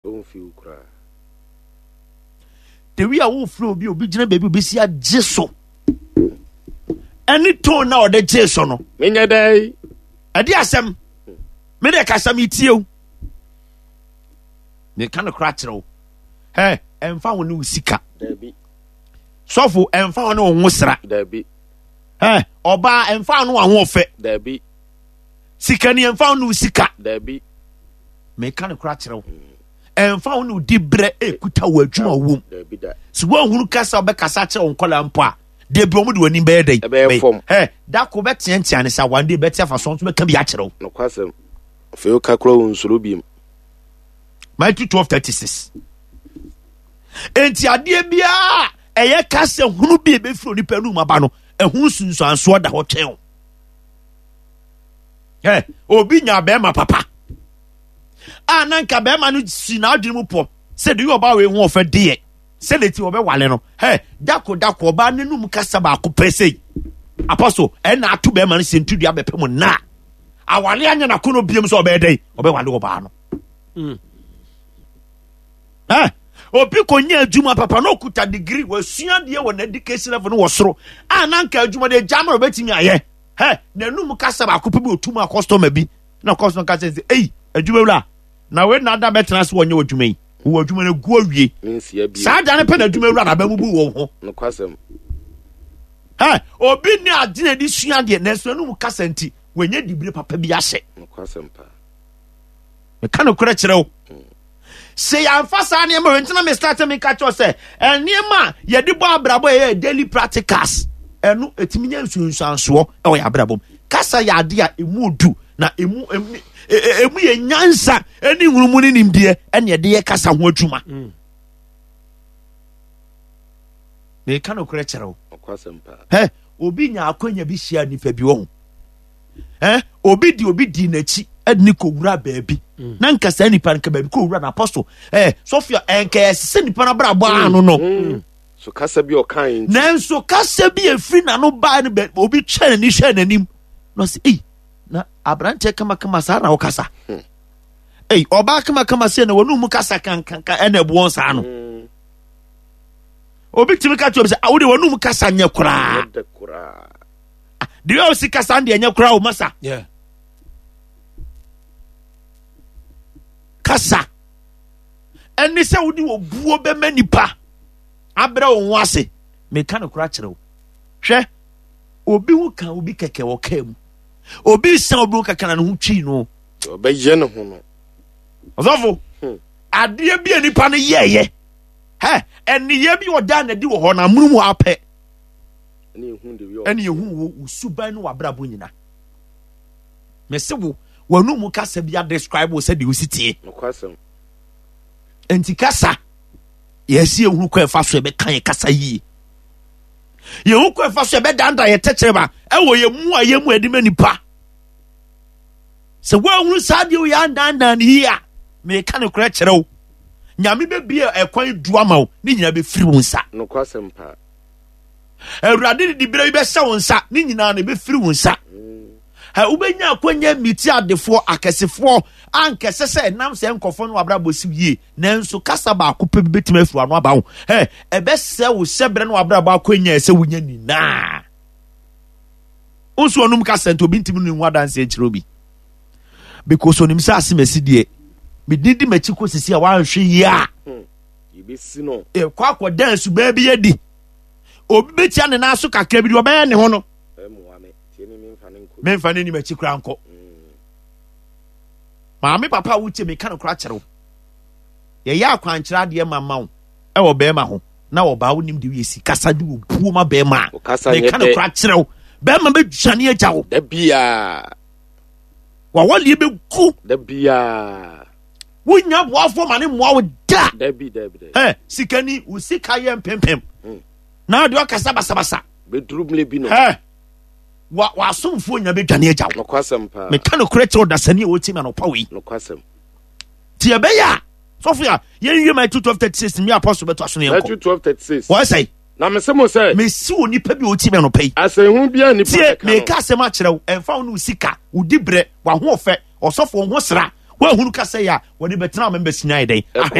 Ɔmfi wo koraa. The way a wofrɛ obi obi gyina baabi obi si agye so ɛne tone na ɔde gye so no. Menyɛ dɛ. Ɛde asɛm me de kasa me tie o. Meka no kora kyerɛ wo. Ɛ ɛmfa ho ne wo sika. Dabi. Sɔfo ɛmfa ho ne wo ho sra. Dabi. Ɛ ɔbaa ɛmfa ho ne wo ahoɔfɛ. Dabi. Sikani ɛmfa ho ne wo sika. Dabi. Meka no kora kyerɛ wo. Ɛmfa ho ne wo dibrɛ ɛkuta wɔ adwuma wom. Sɛ woahunu kasa wobɛkasa kyerɛ wo nkɔla mpo a, da bi wɔn de w'anim bɛyɛ dɛn? Ɛbɛyɛ fam. Ɛ da ko bɛteatea ne sa one day bɛte afa so nso bɛka bi akyerɛ wo. Nokwasɛm. Afei woka kora wo nsuro biem. Matthew 12:36. Enti adeɛ biara ɛyɛ kasa hunu bi a ɛbɛfiri onipa anum aba no, ɛho nsunsuansoɔ da hɔ twɛn o. Ɛ obi nya bɛrima papa a na nka bɛrima no si n'adwene mu pɔ sɛ deɛ ɔbaa wei ho ɔfɛ deɛ sɛ ne ti ɔbɛwale no hɛ dako dako ɔbaa n'anum kasa baako pɛ sei apɔso ɛna ato bɛrima no sɛ ntudua bɛpɛ mu na awale anyɛ n'akono biem sɛ ɔbɛyɛ dɛn ɔbɛwale ɔbaa no. Eh, obi kɔnya adwuma papa na ɔkuta degree wasua deɛ wɔ n'education level no wɔ soro a na nka adwuma deɛ gya ma ɔbɛtumi ayɛ hɛ n'anum kasa baako pɛ bi ɔtum a customer bi na customer kasa sɛ ei adwuma wura na wei na ada bɛtena ase wɔnyɛ adwuma yi wɔ adwuma no gu awie saa da no pɛ na adwuma wura na abɛbubu wɔn ho hɛ obi ne agyina de sua deɛ nanso n'anum kasa nti wɔnyɛ dibire papa bi ahyɛ meka nokorɛ kyerɛ wo sɛ yɛamfa saa nneɛma wei ntina me start meka kyerɛ sɛ nneɛma a yɛde bɔ abrabɔ yɛyɛ daily practicals ɛno ɛtumi nya nsunsuansoɔ ɛwɔ yɛ abrabɔ mu kasa yɛ ade a ɛmu du na ɛmu ɛmu yɛ nyansa ɛne nhunumu ne nimdeɛ ɛne ɛde yɛ kasa ho adwuma mm. meka nokorɛ kyerɛ wo hɛ obi nya akwanya bi hyia nipa bi wɔ ho eh, obi di obi di n'akyi ɛde ne kɔwura baabi mm. na nka saa nipa nka baabi kɔwura na apɔso eh, sɔfia ɛnka ɛsɛ nipa no abrabɔ mm. ano no mm. so kasa bi ɔka yi nti nanso kasa bi efiri n'ano baa no bɛ obi twɛ n'ani hwɛ n'anim na ɔsɛ ei na aberanteɛ kamakama saa na ɔkasa hmm. ei ɔbaa kamakama sɛ na wɔn mu kasa kankanka ɛna ɛboɔn saa no hmm. obi tumi ka kyerɛ obi sɛ awo de wɔn mu kasa nyɛ koraa deɛ ɔsi kasa deɛ nyɛ koraa o masa kasa ɛne sɛ wode obuo bɛma nipa abrɛ wo ho ase meka no kora kyerɛ wo hwɛ obi ho ka obi kɛkɛ wɔ kaa mu obi san obi ho kɛkɛ na ne ho twii no ɔbɛyɛ ne ho no ɔsɔfo hmm. adeɛ bi a nipa no yɛɛyɛ hɛ ɛneyɛ bi ɔda na di wɔ hɔ na amono mu apɛ ɛne ehu wo wo suban ne w'abrabɔ nyina mese wo w'anum mu kasa bi adescribe wo sɛdeɛ wosi tie nti kasa yɛsi ehunu kɔ ɛfa so ɛbɛka yɛ kasa yie yɛhu kɔ ɛfa so ɛbɛdanda yɛ tɛkyerɛma ɛwɔ yɛ mu a yɛ mu ɛde ma nipa sɛ woahunu saa deɛ woyɛ andandan ne yie a meka ne korɛ kyerɛ wo nyame bɛbie ɛkwan du ama wo ne nyinaa bɛfiri wo nsa nokwasɛm paa Awurade de diberɛ bi bɛhyɛ wo nsa ne nyinaa no ɛbɛfiri wo nsa wobɛnya akwanya miti adefoɔ akɛsefoɔ ankɛsɛ sɛ ɛnam sɛ nkɔfoɔ no wabrabɔ siw yie nanso kasa baako pɛ bi bɛtumi afiri ano aba wo ɛbɛsɛ wo hyɛ berɛ no wabrabɔ akwanya ɛsɛ wonya nyinaa nso ɔnom kasa nti obi ntumi no ho adanseɛ nkyerɛ obi because onim sɛ asemasi deɛ medin di m'akyi kɔ sisi a wanhwɛ yie a hmm. ɛkɔ akɔda asuban bi adi obi bɛtia ne nan so kakra bi deɛ ɔbɛyɛ ne ho no memfa ne nim akyi koraa nkɔ mm. maame papa a wotie meka no kora kyerɛ wo yɛyɛ akwankyerɛ adeɛ ma ma wo ɛwɔ bɛrima ho na ɔbaa wonim de woyɛ si kasa de wɔ buo ma bɛrima a meka no kora kyerɛ wo bɛrima bɛdwane agya wo wawaleɛ bɛgu wonya boafoɔ ma ne mmoa wo da dabi dabi dabi ɛ sikani wo sika yɛ mpempem hmm. na deɛ ɔkasa basabasa bɛduru mmerɛ bi no ɛ wa wasomfoɔ nya bɛdwane agya wo nokwasɛm paa meka nokorɛ kyerɛ ɔdasani a wɔtie me anɔpa wei nokwasɛm nti ɛbɛyɛ a sɔfo a yɛnwie Matthew 12:36 mi apɔso bɛto aso no yɛnkɔ Matthew 12:36 wɔyɛ sɛe na mese mo sɛ mesi wɔ nipa bi a ɔtie me anɔpa yi asɛnhu biara nipa tie bɛka no meka asɛm akyerɛ wo ɛmfa wo ne wo sika wo dibrɛ w'ahoɔfɛ ɔsɔfo wo ho sra woahunu kasa yi a wɔde bɛtena wo membɛsi ayɛ dɛn.